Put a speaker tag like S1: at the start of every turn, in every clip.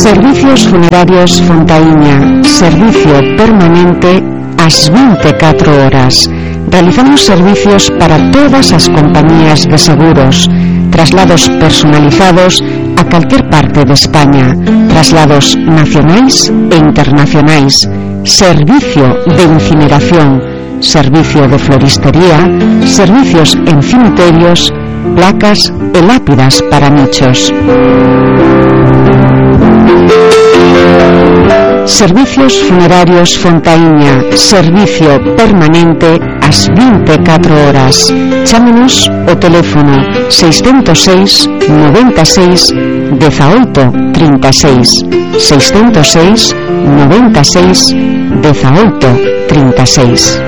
S1: Servicios Funerarios Fontaíña, servicio permanente ás 24 horas. Realizamos servicios para todas as compañías de seguros, traslados personalizados a calquer parte de España, traslados nacionais e internacionais, servicio de incineración, servicio de floristería, servicios en cemiterios, placas e lápidas para nichos. Servicios Funerarios Fontaíña, servicio permanente ás 24 horas. Chámenos o teléfono 606 96 18 36, 606 96 18 36.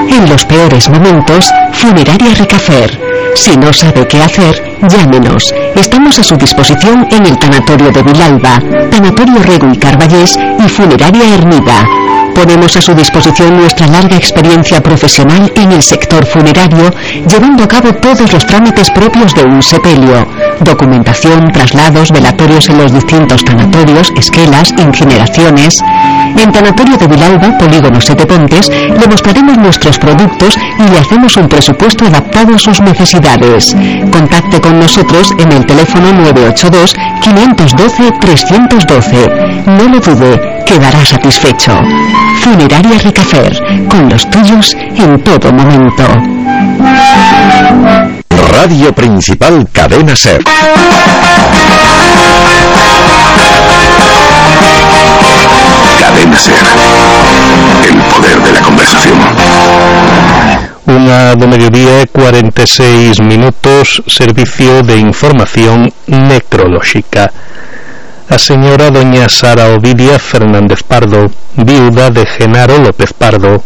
S1: En los peores momentos, Funeraria Ricafer. Si no sabe qué hacer, llámenos. Estamos a su disposición en el Tanatorio de Vilalba, Tanatorio Rego y Carballés y Funeraria Ermida. Ponemos a su disposición nuestra larga experiencia profesional en el sector funerario, llevando a cabo todos los trámites propios de un sepelio: documentación, traslados, velatorios en los distintos tanatorios, esquelas, incineraciones. En Tanatorio de Vilalba, Polígono Sete Pontes, le mostraremos nuestros productos y le hacemos un presupuesto adaptado a sus necesidades. Contacte con nosotros en el teléfono 982 512 312. No lo dude, quedará satisfecho. Funeraria Ricafer, con los tuyos en todo momento.
S2: Radio Principal Cadena SER. Cadena SER. El poder de la conversación.
S3: 1:46, servicio de información necrolóxica. A señora doña Sara Ovidia Fernández Pardo, viuda de Genaro López Pardo,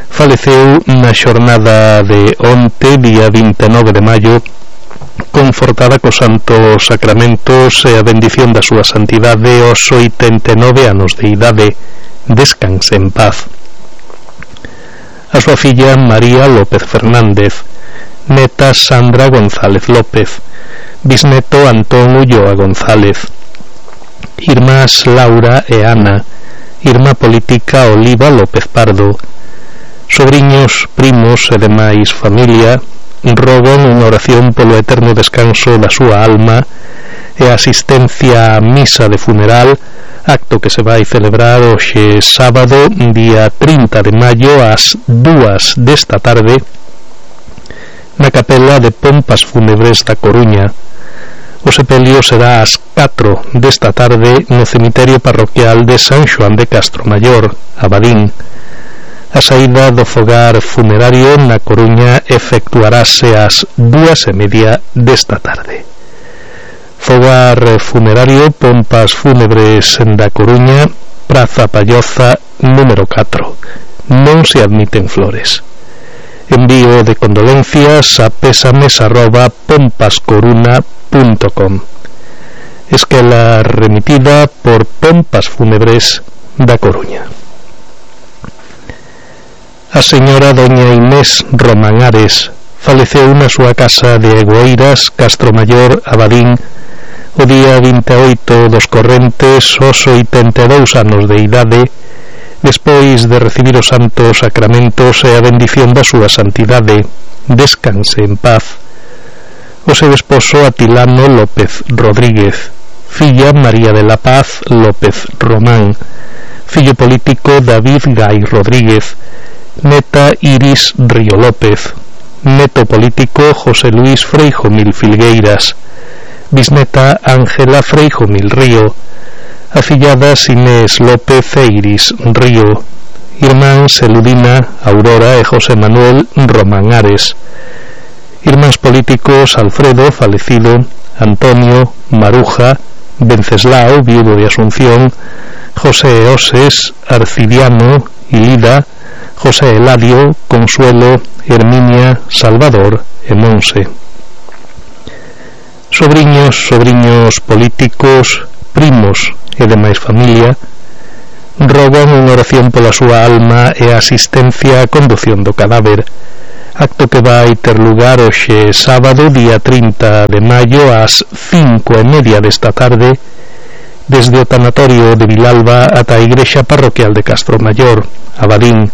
S3: faleceu na xornada de onte, día 29 de maio, confortada cos santos sacramentos e a bendición da súa santidade aos 89 anos de idade. Descanse en paz. A súa filla María López Fernández, neta Sandra González López, bisneto Antón Ulloa González, irmás Laura e Ana, irmá política Oliva López Pardo, sobriños, primos e demais familia, rogan unha oración polo eterno descanso da súa alma e asistencia á misa de funeral, acto que se vai celebrar hoxe sábado, día 30 de maio, ás 2 desta tarde, na capela de Pompas Fúnebres da Coruña. O sepelio será ás 4 desta tarde no cemiterio parroquial de San Xoán de Castromayor, Abadín. A saída do fogar funerario na Coruña efectuarase ás 2:30 desta tarde. Fogar funerario Pompas Fúnebres da Coruña, Praza Palloza, número 4. Non se admiten flores. Envío de condolencias a pésames@pompascoruna.com. Esquela remitida por Pompas Fúnebres da Coruña. A señora doña Inés Román Ares faleceu na súa casa de Egoeiras, Castromayor, Abadín, o día 28 dos correntes, aos 82 anos de idade, despois de recibir os santos sacramentos e a bendición da súa santidade. Descanse en paz. O seu esposo Atilano López Rodríguez, filla María de la Paz López Román, fillo político David Gay Rodríguez, neta Iris Río López, neto político José Luis Freijomil Filgueiras, bisneta Ángela Freijomil Río, afilladas Inés López e Iris Río, irmáns Eludina, Aurora e José Manuel Román Ares, irmáns políticos Alfredo, falecido, Antonio, Maruja, Venceslao, viudo de Asunción, José Oses, Arcidiano, Ilida, José Eladio, Consuelo, Herminia, Salvador e Monse. Sobriños políticos, primos e demais familia rogan unha oración pola súa alma e a asistencia á condución do cadáver, acto que vai ter lugar hoxe sábado, día 30 de maio, ás 5:30 desta tarde, desde o tanatorio de Vilalba ata a igrexa parroquial de Castromaior, Abadín,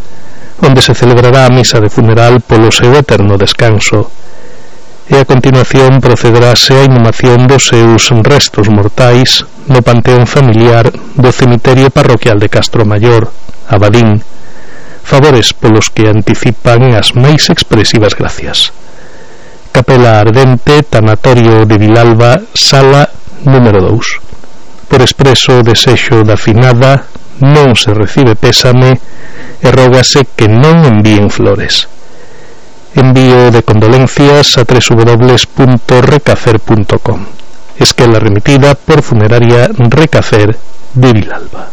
S3: onde se celebrará a misa de funeral polo seu eterno descanso, e a continuación procederase a inhumación dos seus restos mortais no panteón familiar do cemiterio parroquial de Castromaior, Abadín, favores polos que anticipan as máis expresivas gracias. Capela Ardente, tanatorio de Vilalba, sala número 2. Por expreso desexo da finada, non se recibe pésame e rógase que non envíen flores. Envío de condolencias a www.recafer.com. Esquela remitida por Funeraria Recafer de Vilalba.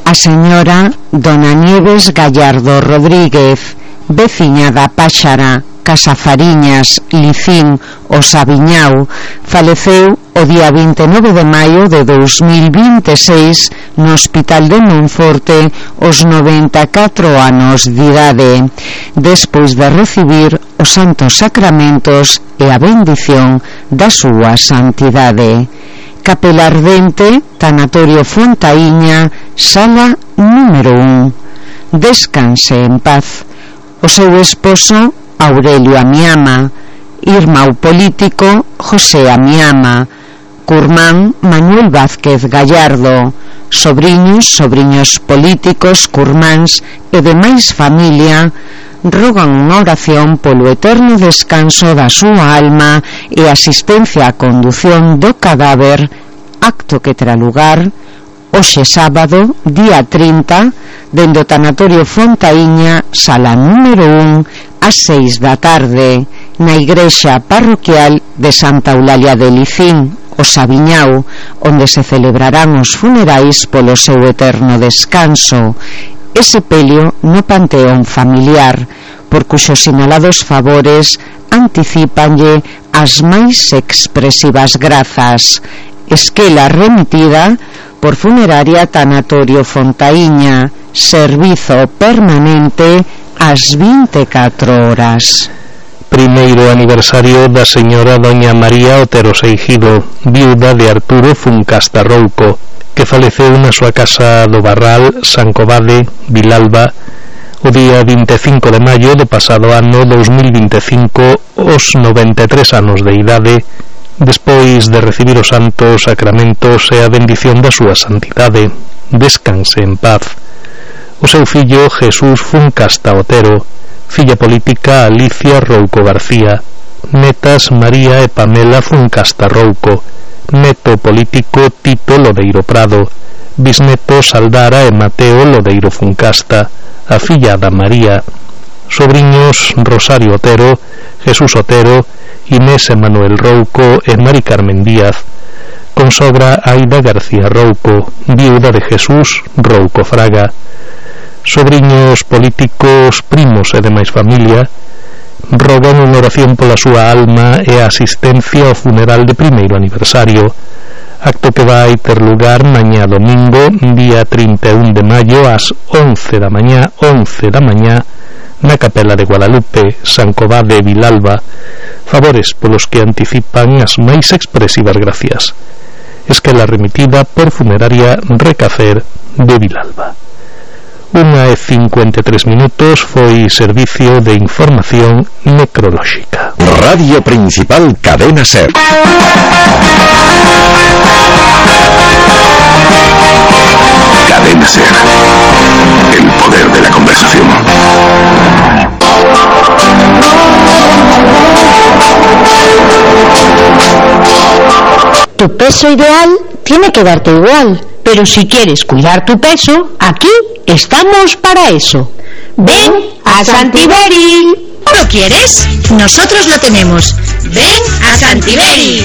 S1: A señora Dona Nieves Gallardo Rodríguez, veciña da Páxara, Casafariñas, Licín, o Sabiñao, faleceu o día 29 de maio de 2026 no Hospital de Monforte aos 94 anos de idade, despois de recibir os santos sacramentos e a bendición da súa santidade. Capela Ardente, tanatorio Fontaíña, sala número 1. Descanse en paz. O seu esposo Aurelio Amiama, irmão político José Amiama, curmán Manuel Vázquez Gallardo, sobriños políticos, curmáns e demais familia rogan unha oración polo eterno descanso da súa alma e asistencia á condución do cadáver, acto que terá lugar hoxe sábado, día 30, dende o tanatorio Fontaíña, sala número 1, ás 6 da tarde, na igrexa parroquial de Santa Eulalia de Licín, o Sabiñao, onde se celebrarán os funerais polo seu eterno descanso, e sepelio no panteón familiar, por cuxos sinalados favores anticipanlle as máis expresivas grazas. Esquela remitida por Funeraria Tanatorio Fontaíña, servizo permanente ás 24 horas.
S3: Primeiro aniversario da señora doña María Otero Seijido, viuda de Arturo Funcasta Rouco, que faleceu na súa casa do Barral, San Covade, Vilalba, o día 25 de maio do pasado ano 2025, aos 93 anos de idade, despois de recibir os santos sacramentos e a bendición da súa santidade. Descanse en paz. O seu fillo Jesús Funcasta Otero, filla política Alicia Rouco García, netas María e Pamela Funcasta Rouco, neto político Tito Lodeiro Prado, bisnetos Aldara e Mateo Lodeiro Funcasta, a fillada María, sobriños Rosario Otero, Jesús Otero, Inés e Manuel Rouco e Mari Carmen Díaz, consobra Aida García Rouco, viuda de Jesús Rouco Fraga, sobriños políticos, primos e demais familia, rogan unha oración pola súa alma e a asistencia ao funeral de primeiro aniversario, acto que vai ter lugar mañá domingo, día 31 de maio, ás 11 da mañá, na Capela de Guadalupe, San Covade, Vilalba, favores polos que anticipan as máis expresivas gracias. Esquela remitida por Funeraria Recafer de Vilalba. 1:53 foi servicio de información necrolóxica.
S2: Radio Principal Cadena SER. Cadena SER. El poder de la conversación.
S4: Tu peso ideal tiene que darte igual, pero si quieres cuidar tu peso, aquí estamos para eso. Ven a Santiberi.
S5: ¿Lo quieres? Nosotros lo tenemos. Ven a Santiberi.